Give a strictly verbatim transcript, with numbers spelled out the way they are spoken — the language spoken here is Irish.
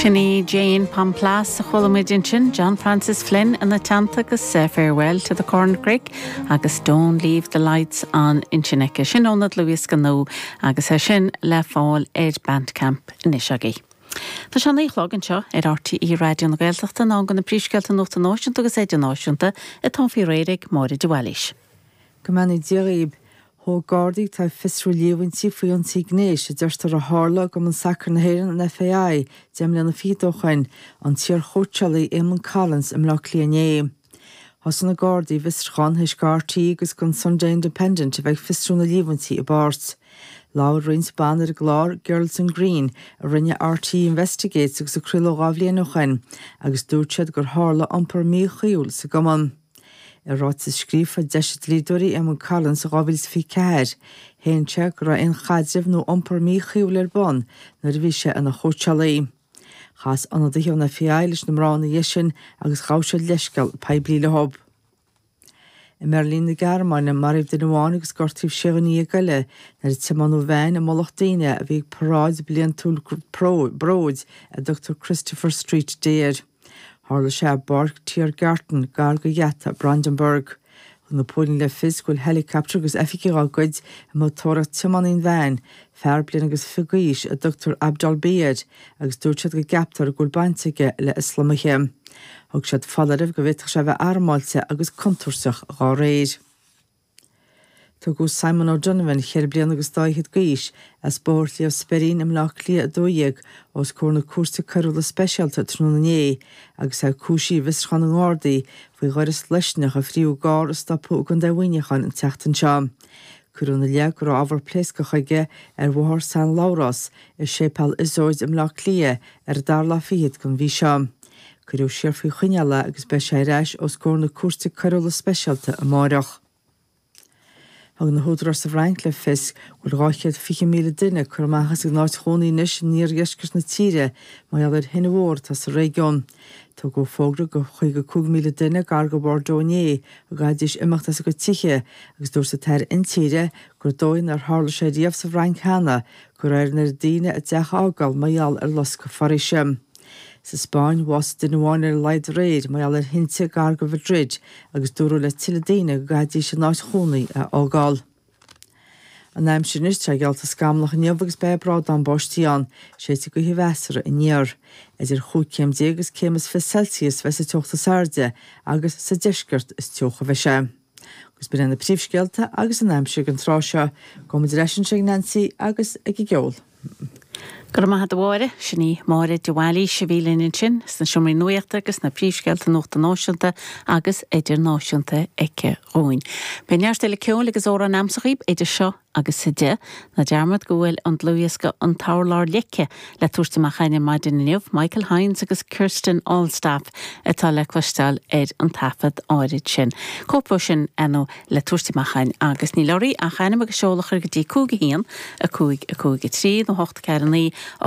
Sin í Jane Pamplace a chuala muid ansin John Francis Flynn ina teannta agus farewell to the Corncrake agus don't leave the lights on ansin aici sin óna dlúthdhiosca nua agus é sin le fáil ar Bandcamp anois agaibh. Tá sé naoi a chlog anseo ar RTÉ Raidió na Gaeltachta ná go na príomhscéalta nuachta náisiúnta agus idirnáisiúnta atá faoi réir ag Máire de Bhailís. Go mbeannaí Dia dhaoibh Thóg Gardaí atá ag fiosrú líomhaintí faoi ionsaí gnéis a deirtear a tharla i gCumann Sacair na hÉireann an FAI deich mbliana fichead ó shin an t-iarchóitseálaí Eamon Collins i mBleá Cliath inné. Thosaigh na Gardaí a bhfiosrúchán théis do RTÉ agus don Sunday Independent a bheith ag fiosrú na líomhaintí i bpáirt. Labhair roinnt ban ar an gclár Girls in Green a rinne RTÉ Investigates agus a craoladh dhá bhliain ó shin agus dúirt siad gur tharla iompar míchuí sa gcumann. I ráiteas scríofa d'eisigh dlíodóirí Eamon Collins sa dhá mhíle is fiche ceathair, shéan sé go raibh aon chaidreamh nó iompar míchuí ar bun nuair a bhí sé ina chóitseálaí. Chas ionadaithe ón FAI leis na mná ina dhiaidh sin agus ghabh siad leithscéal poiblí leo. I mBeirlín na Gearmáine maraíodh duine amháin agus gortaíodh sé dhuine déag eile nuair a tiomáineadh veain i mullach daoine a bhí ag paráid bliantúil bróid a dtugtar Christopher Street Day air. Tharla sé i bPáirc Tiergarten gar do gheata Brandenburg. Thug na póilíní le fios go bhfuil helicopter agus oifigigh dá gcuid i mbun tóraíocht tiománaí an veain, fear bliain agus fiche d'aois a dtugtar Abdul B air, agus dúirt siad go gceaptar go bhfuil baint aige le Ioslamaithe. Thug siad foláireamh go bhféadfadh sé a bheith armáilte agus contúirteach dá réir. Tugadh Simon O'Donovan ceithre bliana agus dá fhichead d'aois as Bóthar Shliabh Speirín i mBleá Cliath a dó dhéag os comhair na cúirte coiriúla speisialta tráthnóna inné agus é cúisithe i bhfiosrúchán na nGardaí faoi dhoras loiscneach a fríothadh i gcarr a stopadh i gContae Mhuineacháin an tseachtain seo. Cuireadh ina leith go raibh ábhar pléascach aige ar Bhóthar San Labhrás i Séipéal Iosóid i mBleá Cliath ar an dara lá fichead den mhí seo. Cuireadh siar faoi choinneáil é agus beidh sé ar ais os comhair na cúirte coiriúla speisialta amárach. Thug na húdaráis sa Fhrainc le fios go bhfuil dhá chéad fiche míle duine curtha amach as a n-áit chónaí anois in iardheisceart na tíre mar gheall ar thine mhór atá sa réigiún. Tugadh fógra do chaoga cúig míle duine gar do Bordeaux inné go gcaithfidís imeacht as a gcuid tithe agus dúirt an tAire Intíre gur dóigh nár tharla sé riamh sa Fhrainc cheana go raibh ar na daoine a dteach a fhágáil mar gheall ar loscadh foraoise. Sa Spáinn bhásaigh duine amháin ar a laghad aréir mar gheall ar thinte gar do Mhadrid agus dúradh le tuilleadh daoine go gcaithfidís a n-áit chónaí a fhágáil. An aimsir anois tá geallta scamallach inniu agus beidh brádán báistí ann, séidfidh gaoth mheasartha aniar. Idir chúig chéim déag agus céim is fiche Celsius a bheidh sa teocht is airde agus sa deisceart is teocha a bheidh sé. Agus b'in na príomhscéalta agus an aimsir don tráth seo, gabhfaidh muid ar ais ag Nancy agus ag an gceol. Go raibh maith agat a Mháire sin í Máire de Bhailís a bhí linn ansin sna seomraí nuachta agus na príomhscéalta nuachta náisiúnta agus idirnáisiúnta aici dhúinn. Beidh neart eile ceoil agus amhrán a'msa dhaoibh idir seo agus a deich ná dearmad go bhfuil an dlúthdhiosca an t-urlár leice le tabhairt amach ar maidin inniu Michael Hines agus Kirsten Allstaff atá le cloisteáil ar an taifead áirid sin. Cóip sin anú le tabhairt amach agus níl oraibh ach ainm agus seoladh a chur go dtí cúig a haon a cúig a cúig a trí nó hocht ceathair naoi a